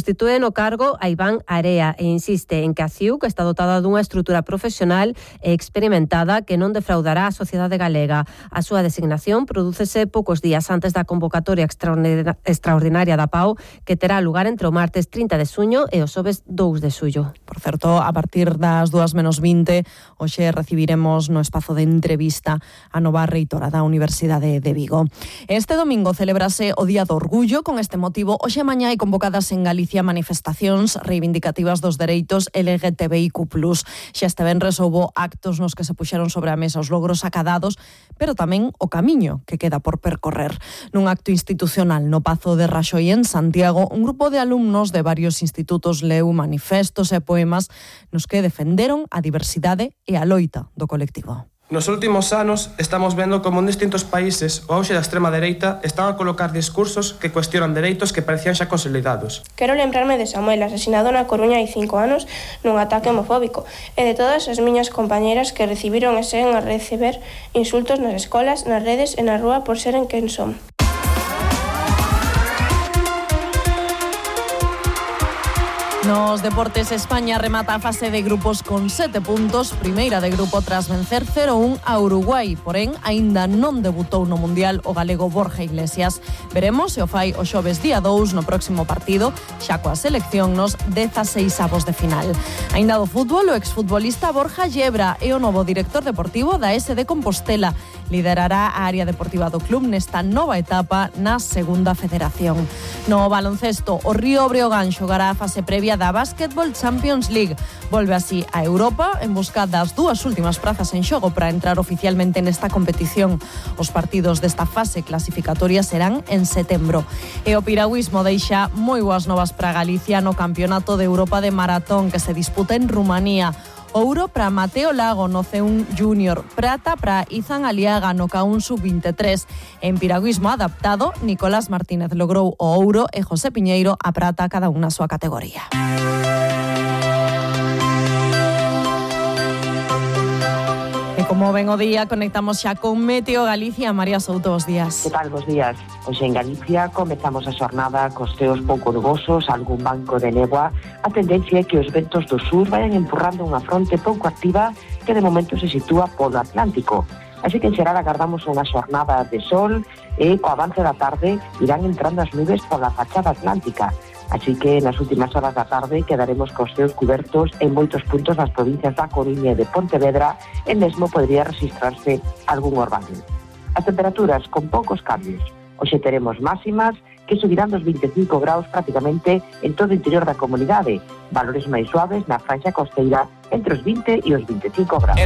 Substitúe no cargo a Iván Area e insiste en que a CIUC está dotada dunha estrutura profesional e experimentada que non defraudará a sociedade galega. A súa designación prodúcese poucos días antes da convocatoria extraordinaria da PAO, que terá lugar entre o martes 30 de xuño e o xoves 2 de xullo. Por certo, a partir das 2:20, hoxe recibiremos no espazo de entrevista a nova reitora da Universidade de Vigo. Este domingo celebrase o Día do Orgullo. Con este motivo, hoxe e mañá hai convocadas en Galicia manifestacións reivindicativas dos dereitos LGTBIQ+. Xa este venres houbo actos nos que se puxeron sobre a mesa os logros acadados, pero tamén o camiño que queda por percorrer. Nun acto institucional no Pazo de Raxoi en Santiago, un grupo de alumnos de varios institutos leu manifestos e poemas nos que defenderon a diversidade e a loita do colectivo. Nos últimos anos estamos vendo como en distintos países o auxe da extrema dereita están a colocar discursos que cuestionan dereitos que parecían xa consolidados. Quero lembrarme de Samuel, asesinado na Coruña hai 5 anos nun ataque homofóbico, e de todas as miñas compañeras que recibiron e seguen a receber insultos nas escolas, nas redes e na rúa por seren quen son. Nos deportes, España remata a fase de grupos con 7 puntos, primeira de grupo tras vencer 0-1 a Uruguai, porén aínda non debutou no Mundial o galego Borja Iglesias. Veremos se o fai o xoves día 2 no próximo partido, xa coa selección nos 16avos de final. Aínda do fútbol, o exfutbolista Borja Llebra é o novo director deportivo da SD Compostela. Liderará a área deportiva do club nesta nova etapa na segunda federación. No baloncesto, o Río Breogán xogará a fase previa da Basketball Champions League. Volve así a Europa en busca das 2 últimas prazas en xogo para entrar oficialmente nesta competición. Os partidos desta fase clasificatoria serán en setembro. E o piragüismo deixa moi boas novas para Galicia no Campeonato de Europa de Maratón que se disputa en Rumanía. Ouro para Mateo Lago no C1 Júnior, prata para Izan Aliaga no K1 Sub-23. En piragüismo adaptado, Nicolás Martínez logrou o ouro e José Piñeiro a prata, cada un na súa categoría. E como ven o día, conectamos xa con Meteo Galicia. María Souto, bos días. Que tal, bos días? Hoxe en Galicia comezamos a xornada cos ceos pouco nubosos, algún banco de néboa. A tendencia é que os ventos do sur vayan empurrando unha fronte pouco activa que de momento se sitúa polo Atlántico. Así que en xeral agardamos unha xornada de sol e co avance da tarde irán entrando as nubes pola fachada atlántica. Así que nas últimas horas da tarde quedaremos cos ceos cubertos en moitos puntos das provincias da Coruña e de Pontevedra e mesmo podría registrarse algún orvallo. As temperaturas con poucos cambios. Hoxe teremos máximas que subirán dos 25 graus prácticamente en todo o interior da comunidade, valores máis suaves na franxa costeira entre os 20 e os 25 graus.